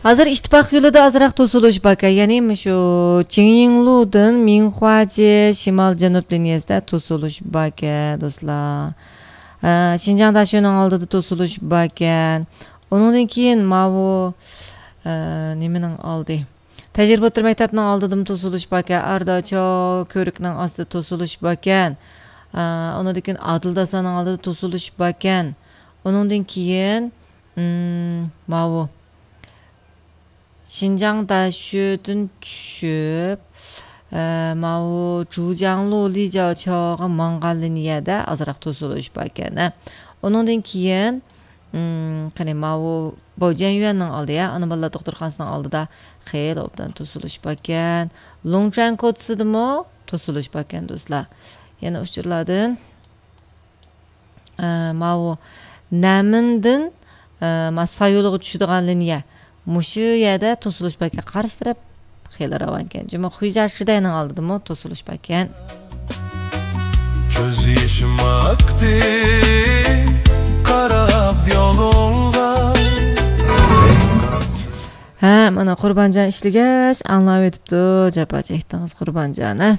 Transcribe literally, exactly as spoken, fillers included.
ھازىر ئىتتىپاق يولىدا ئازراق توسۇلۇش باركەن، يەنى مۇشۇ چىڭيىڭلۇدىن مىڭخۇاجې شىمال جەنۇب لىنىيەسىدە توسۇلۇش باركەن، دوستلار. ئە، شىنجاڭ داشۆنىڭ ئالدىدا توسۇلۇش باركەن. ئۇنىڭدىن كېيىن ماۋۇ، ئە، نېمىنىڭ ئالدى؟ تەجرىبە ئوتتۇرا مەكتەپنىڭ ئالدىدىمۇ توسۇلۇش باركەن. ئارداچو كۆۋرۈكنىڭ ئاستىدا توسۇلۇش باركەن. ئە، ئۇنىڭدىن كېيىن ئادىل داسانىڭ ئالدىدا توسۇلۇش باركەن. ئۇنىڭدىن كېيىن، ئىم، ماۋۇ شىنجاڭ داشۆدىن چۈشۈپ، ئە، ماۋۇ جۇجياڭلۇ لىجياۋچاۋغا ماڭغان لىنىيەدە ئازراق توسۇلۇش باركەن، ھە. ئۇنىڭدىن كېيىن، ئىم، قېنى، ماۋۇ بوجيەنيۈەننىڭ ئالدى، يا، ئانا بالىلار دوختۇرخانىسىنىڭ ئالدىدا خېلى ئوبدان توسۇلۇش باركەن. لۇڭچۈەن كوچىسىدىمۇ توسۇلۇش باركەن، دوستلار. يەنە ئۇچۇرلاردىن ئە، ماۋۇ نەمىندىن، ئە، ما سايولىغا چۈشىدىغان لىنىيە. مۇشۇ يەردە توسۇلۇش باركەن. قارشى تەرەپ خېلى راۋانكەن. جۇمۇ خۇيجيا شىدەينىڭ ئالدىدىمۇ توسۇلۇش باركەن. كۆز يېشىم ئاقتى قاراپ يولۇڭغا. ھە، مانا قۇربانجان ئىشلىگەچ ئاڭلاۋېتىپتۇ. جاپا چەكتىڭىز قۇربانجان، ھە؟